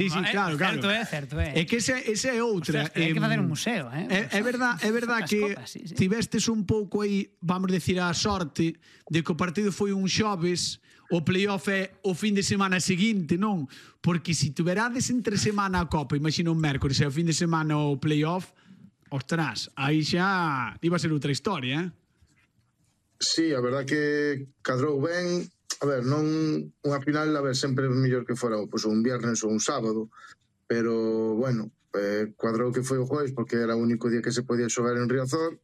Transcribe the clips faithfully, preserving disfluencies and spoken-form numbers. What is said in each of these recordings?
Sí, sí, claro, claro. Certo é, certo é. É que esa, esa é outra. Ostras, hai que facer un museo, eh? É, é verdad, é verdad que copas, sí, sí. tivestes un pouco aí, vamos decir, a sorte de que o partido foi un xoves, o playoff é o fin de semana seguinte, non? Porque se tuverades entre semana a Copa, imagina un mércoles e o fin de semana o playoff, ostras, aí xa iba a ser outra historia, eh? Sí, a verdad que cadrou ben. A ver, non unha final, a ver, sempre é mellor que fora pues, un viernes ou un sábado, pero, bueno, eh, cuadrou que foi o jueves porque era o único día que se podía xogar en Riazor.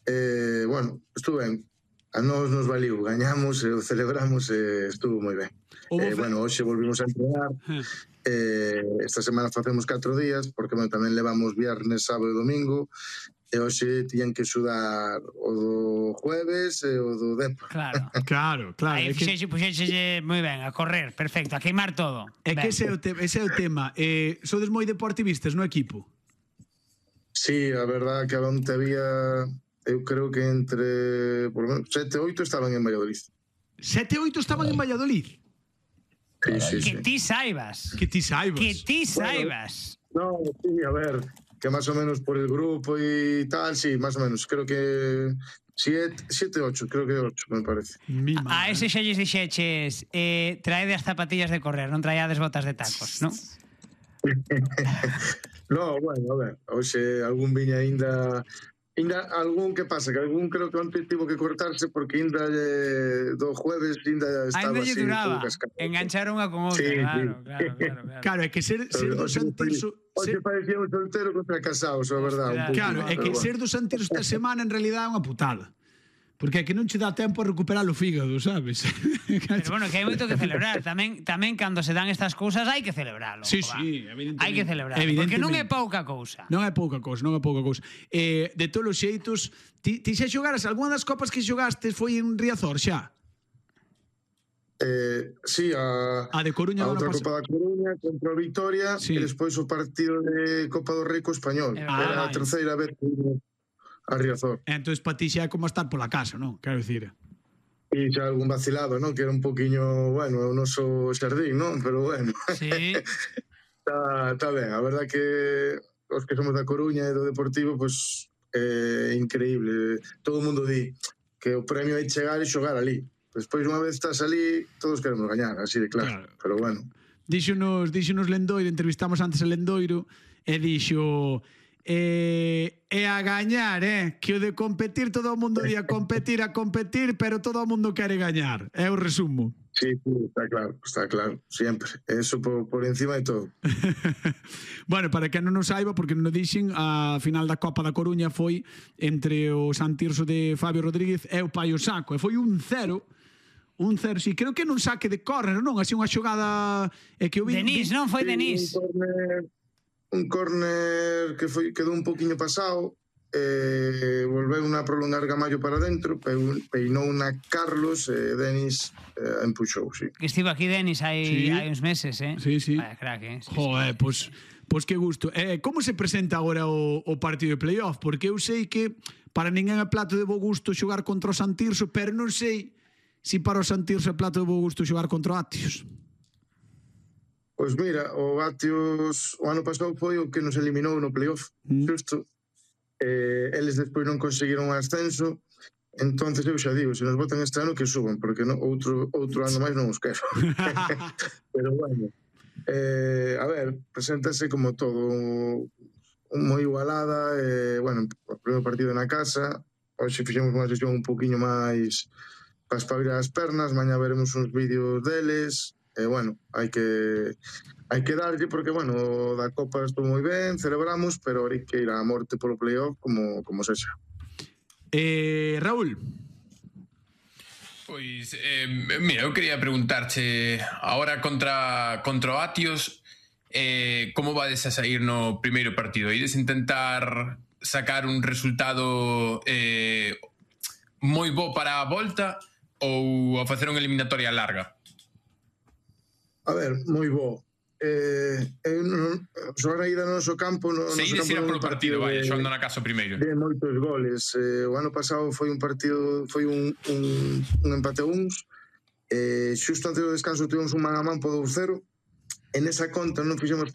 Eh, bueno, estuvo ben. A nós nos valiu, gañamos, e o celebramos e estuvo moi ben. Eh, bueno, hoxe volvimos a entrenar. Eh, esta semana facemos catro días porque bueno, tamén levamos viernes, sábado e domingo. E hoxe tiñan que xudar o do jueves e o do Depa. Claro. Claro, claro. Aí fixexe, puxexe moi ben, a correr, perfecto, a queimar todo. É que ese é o, te, ese é o tema. Eh, sodes moi deportivistas no equipo? Sí, a verdad que onte había, eu creo que entre por lo menos sete, oito estaban en Valladolid. Sete, oito estaban en Valladolid? Sí, sí, que sí. ti saibas. Que ti saibas. Que ti saibas. Bueno, no, sí, a ver, que más o menos por el grupo y tal, sí, más o menos. Creo que siete, siete, ocho, creo que ocho, me parece. A, a ese xa lles dixeches, eh, traede as zapatillas de correr, non traíades botas de tacos, non? No, bueno, a ver, hoxe algún viña ainda... Ainda algún, que pasa? Que algún creo que onte tivo que cortarse porque ainda eh, do jueves ainda estaba ainda así lle duraba, cascado. engancharon unha con outra, Sí, claro, sí. claro, claro, claro. Claro, é que ser, ser do Santirso... Hoxe parecía un soltero contra casados, a verdade. Un Claro, é que ser do Santirso esta semana en realidad é unha putada. Porque é que non che dá tempo a recuperar o fígado, sabes? Pero bueno, que hai moito que celebrar. Tamén tamén cando se dan estas cousas hai que celebralo. Sí, sí, evidentemente. Hai que celebrar, porque non é pouca cousa. Non é pouca cousa, non é pouca cousa. Eh, de todos os xeitos, ti, ti xa xogaras, algunha das copas que xogastes foi en Riazor xa? Eh, sí, a, a de Coruña, a outra pas... Copa da Coruña contra o Vitoria, sí. E despois o partido de Copa do Rei co Español. Ah, era a terceira vez que a Riazor. Entón, para ti xa é como estar pola casa, non? Quero dicir. E xa algún vacilado, non? Que era un poquinho, bueno, o noso xardín, non? Pero bueno. Sí. Está tá ben, a verdad que os que somos da Coruña e do Deportivo, pois é eh, increíble. Todo o mundo di que o premio é chegar e xogar ali. Despois, unha vez estás ali, todos queremos gañar, así de claro. claro. Pero bueno. Díxonos, díxonos Lendoiro, entrevistamos antes a Lendoiro, e dixo... E, e a gañar, eh? Que o de competir, todo o mundo di a competir, a competir, pero todo o mundo quere gañar. É o resumo. Sí, sí, está claro, está claro, siempre. Eso por, por encima de todo. Bueno, para que non nos saiba, porque non o dixen, a final da Copa da Coruña foi entre o Santirso de Fabio Rodríguez e o Paio Saco, e foi un cero. Un cero, sí, creo que non saque de córner, non? Así unha xogada... É que o vi, Denis, non? Foi Denis. Un córner... un córner que foi quedou un poquinho pasado, eh, volveu unha prolongar Gamallo para dentro, peinou unha Carlos e eh, Denis eh, empuxou, sí. Que estivo aquí Denis hai, sí. hai uns meses, eh? Sí, sí. Vaya crack, eh? Sí, Joder, sí. pois pues, pues que gusto. Eh, como se presenta agora o, o partido de playoff? Porque eu sei que para ninguén é plato de bo gusto xogar contra o Santirso, pero non sei se si para o Santirso é plato de bo gusto xogar contra o Atios. Pois mira, o Atios o ano pasado foi o que nos eliminou no playoff, mm. Justo. Eh, eles despois non conseguiron o ascenso, entonces eu xa digo, se nos botan este ano que suban, porque no, outro, outro ano máis non os quero. Pero bueno, eh, a ver, preséntase como todo moi igualada, eh, bueno, o primeiro partido na casa, hoxe fixemos unha sesión un poquinho máis para espabilar as pernas, mañá veremos uns vídeos deles. E eh, bueno, hai que hai que darlle porque, bueno, da Copa estou moi ben, celebramos, pero hai que ir á morte polo playoff como, como sexa. Eh, Raúl. Pois, eh, mira, eu quería preguntarche ahora contra, contra o Atios, eh, como vades a sair no primeiro partido? Ides intentar sacar un resultado eh, moi bo para a volta ou a facer unha eliminatoria larga? A ver, moi bo. Eh, eu non, xogar aí no noso campo no, Se ides ir polo partido, vai, xogando na casa primeiro. De moitos goles. Eh, o ano pasado foi un partido, foi un, un, un empate a uns. Eh, xusto antes do descanso tivemos un man a man po dous cero. en esa conta non fixemos